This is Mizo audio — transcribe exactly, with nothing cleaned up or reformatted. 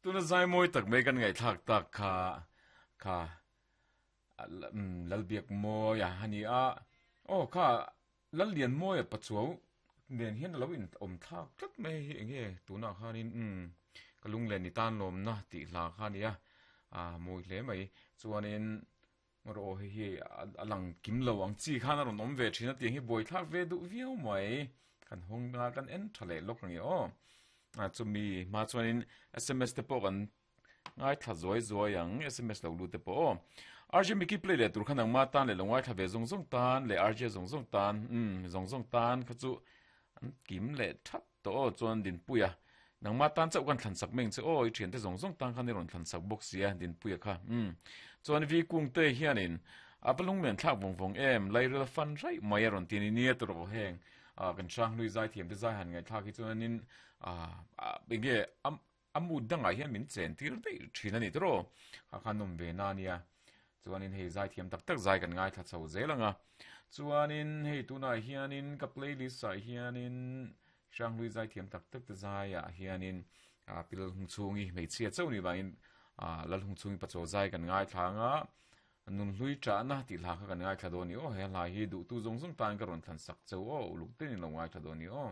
Tuna zai mawi tak mai kan ngaihthlak tak kha kha Lalbiak mawi a hani a aw kha Lallian mawi a pachuau nen hian a lo in awm thlak tlat mai hi enge tunah khanin umm ka lunglen ni tan lawmna tih hla kha a ni a a mawi hle mai chuanin rawh hei hi a lang kim lo ang chi khan a rawn awm ve thin a tiang hi buai thlak ve duh viau mai kan hawng a kan en tha leh lawk ang i aw a chumi hma chuanin S M S te pawh kan ngaithla zuai zuai ang S M S lo lut te pawh aw R J Mickey play leh tur khan ang ma tan leh lo ngaithla ve zawng zawng tan leh R J zawng zawng tan umm zawng zawng tan kha chu an kim leh thap tawh aw chuan Dinpuia nangma tan chauh kan thlan sak meng che aw i thian te zawng zawng tan khan i rawn thlan sak bawk sia Dinpuia kha umm chuan V Kung te hianin a va lunglen thlak vawng vawng em lairel fan raih mai a rawn ti ni nia tawh rawh heng a kan hrang hlui zai thiam te zai han ngaihthlak hi chuanin a enge a a mood dangah hian min chen tir daih thin a ni tawh kha khan nawm ve na nia chuanin hei zai thiam tak tak zai kan ngaithla chho zel anga chuanin hei tunah hianin ka playlist ah hianin hrang hlui zai thiam tak tak te zai ah hianin a pil hung chhungi hmeichhia chauh ni vangin a lal hung chhungi pachaw zai kan ngaithla anga nun hlui chahna tih hla kha kan ngaithla dawn ni aw he hla hi duhtu zawng zawng tan ka rawn thlan sak cheu aw uluk te ni lo ngaithla dawn ni aw.